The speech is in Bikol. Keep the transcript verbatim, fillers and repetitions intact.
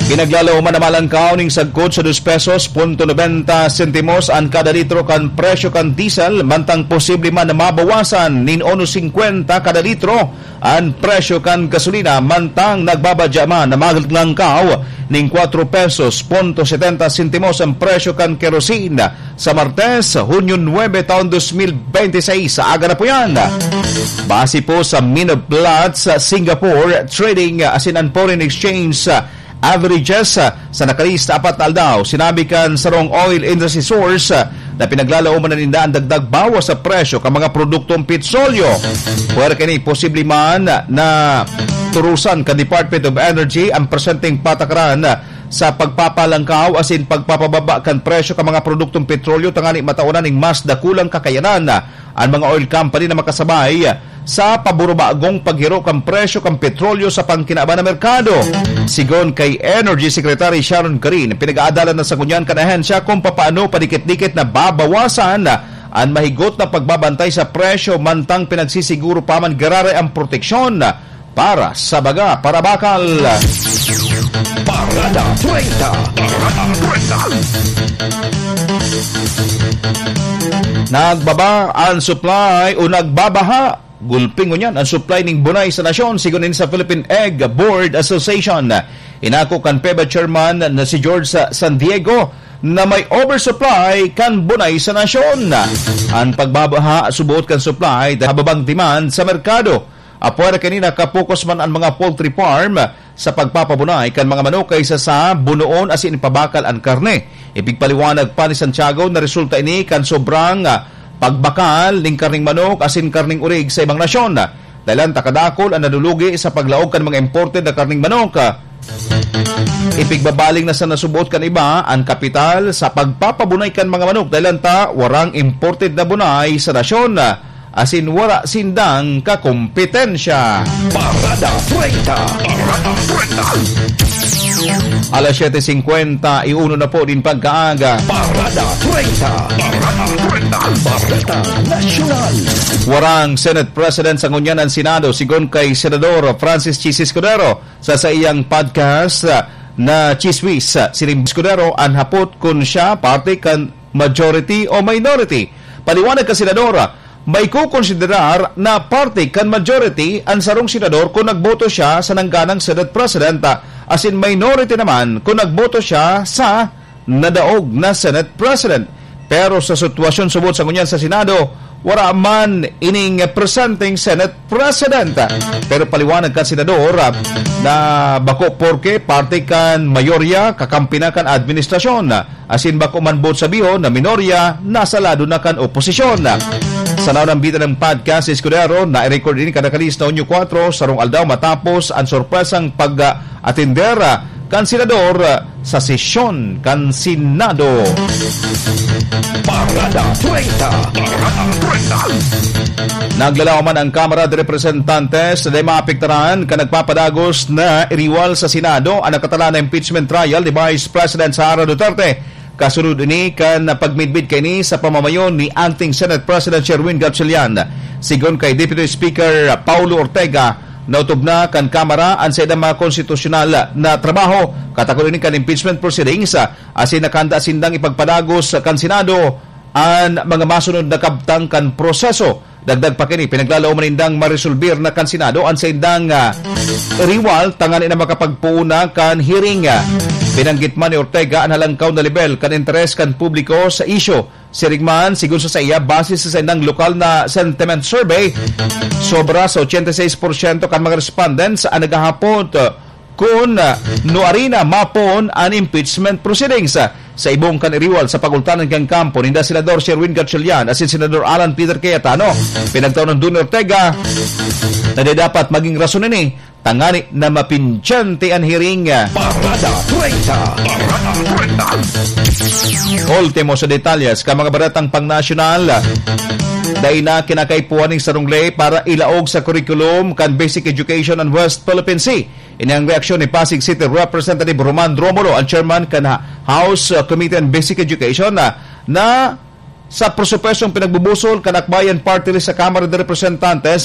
Pinaglalaoman na malangkaw ning sagkod sa dos pesos punto nobenta sentimos an kada litro kan presyo kan diesel, mantang posible man na mabawasan nin uno singkwenta kada litro an presyo kan gasolina, mantang nagbabadya man na maglangkaw ning kwatro pesos punto setenta sentimos an presyo kan kerosene. Sa Martes, Hunyo nuebe, taon dos mil bente seis, sa aga na po yan. Base po sa Mean of Platts Singapore Trading asin an foreign exchange averages sa nakalista apat na aldaw, sinabi kan sarong oil industry source na pinaglalaoman na ninda an dagdag bawas sa presyo kan mga produktong petrolyo. Pwera kini posible man na turusan kan Department of Energy ang presenteng patakaran sa pagpapalangkaw asin pagpapababa kan presyo kan mga produktong petrolyo, tangani mataonan ning mas dakulang kakayanan an mga oil company na makasabay sa paburubagong paghiro kan presyo kan petrolyo sa pangkinaban na merkado. Sigon kay Energy Secretary Sharon Garin, pinag-aadalan na sa ngunyan kan ahensya kung papaano padikit-dikit na babawasan an mahigot na pagbabantay sa presyo, mantang pinagsisiguro pa man giraray ang proteksyon para sa baga, para bakal. Parada treinta. Parada treinta. Nagbaba ang supply o nagbabaha, gulpi ngunyan ang supply ning bunay sa nasyon, sigon ini sa Philippine Egg Board Association. Inako kan PEBA chairman na si George Sa-, San Diego na may oversupply kan bunay sa nasyon. Ang pagbabaha subot kan supply dahil hababang demand sa merkado. Apwera kaini, nakapokus man an mga poultry farm sa pagpapabunay kan mga manok kaysa sa bunoon asin ipabakal an karne. Ipigpaliwanag pa ni Santiago na resulta ini kan sobrang, ah, pagbakal ning karneng manok asin karneng urig sa ibang nasyon. Dahilan ta kadakul an nadulugi sa paglaog kan mga imported na karneng manok. Ipigbabaling na sa nasubot kan iba an kapital sa pagpapabunay kan mga manok, dahilan ta warang imported na bunay sa nasyon, asin wara sindang kakompetensya. Parada treinta. Parada treinta. Alas siyete singkwenta y uno na po nin pagkaaga. Parada treinta. Parada treinta. Parada Nasyonal. Warang Senate President sa ngunyan an Senado, sigon kay Senador Francis Chiz Escudero. Sa saiyang podcast, ah, na Chismis, ah, si Lim Escudero an hapot kun siya parte kan majority o minority. Paliwanag kan senador, ah, may kukonsiderar na parte kan majority an sarong senador kun nagboto siya sa nangganang Senate President, ah, asin minority naman kun nagboto siya sa nadaog na Senate President. Pero sa sitwasyon subot sa ngunyan sa Senado, wara man ining presenteng Senate President. Pero paliwanag kan senador, ah, na bako porke parte kan mayorya kakampi na kan administrasyon, asin bako man boot sabihon na minorya nasa lado na kan oposisyon. Sa naunang bida ng podcast, Escudero, na-record ini kan nakalihis na Hunyo kwatro, sarong aldaw matapos ang sorpresang pag, ah, atender, ah, kan senador, ah, sa sesyon kan Senado. Parada treinta. Parada treinta. Naglalaom man ang Kamara de Representantes na maapektaran kan nagpapadagos na iriwal sa Senado an nakatalaan na impeachment trial ni Vice President Sara Duterte. Kasunod ini kan pagmidbid kaini sa pamamayo ni Acting Senate President Sherwin Gatchalian. Sigon kay Deputy Speaker Paulo Ortega, naotob na kan Kamara an saindang mga konstitusyonal na trabaho, katakod ini kan impeachment proceedings, asin nakahanda sindang ipagpadagos kan Senado an mga masunod na kabtang kan proseso. Dagdag pa kini, pinaglalaoman nindang maresolbir na kan Senado an saindang, ah, riwal tangani na makapagpoon na kan hearing. Binanggit man ni Ortega an halangkaw na lebel kan interes kan publiko sa isyu. Siring man, sigon sa saiya, base sa saindang lokal na sentiment survey, sobra sa ochenta y seis porsyento kan mga respondents an naghahapot, ah, kun, ah, nuari na mapoon an impeachment proceedings. Sa ibong kan iriwal sa pagultanan kan kampo ninda Senador Sherwin Gatchalian asin Senador Alan Peter Cayetano, pinagtaon ni Duni Ortega na di dapat magin rason ini tangani na mapindyente an hearing. Parada treinta. Parada treinta. Ultimo sa detalyes kan mga baretang pangnasyonal. Dai na kinakaipuhan nin sarong ley para ilaog sa curriculum kan basic education an West Philippine Sea. Ini ang reaksyon ni Pasig City Representative Roman Romulo, ang chairman kan Ha-, House, uh, Committee on Basic Education, na, na sa presupuestong pinagbubusol kan Akbayan Party List sa Kamara de Representantes,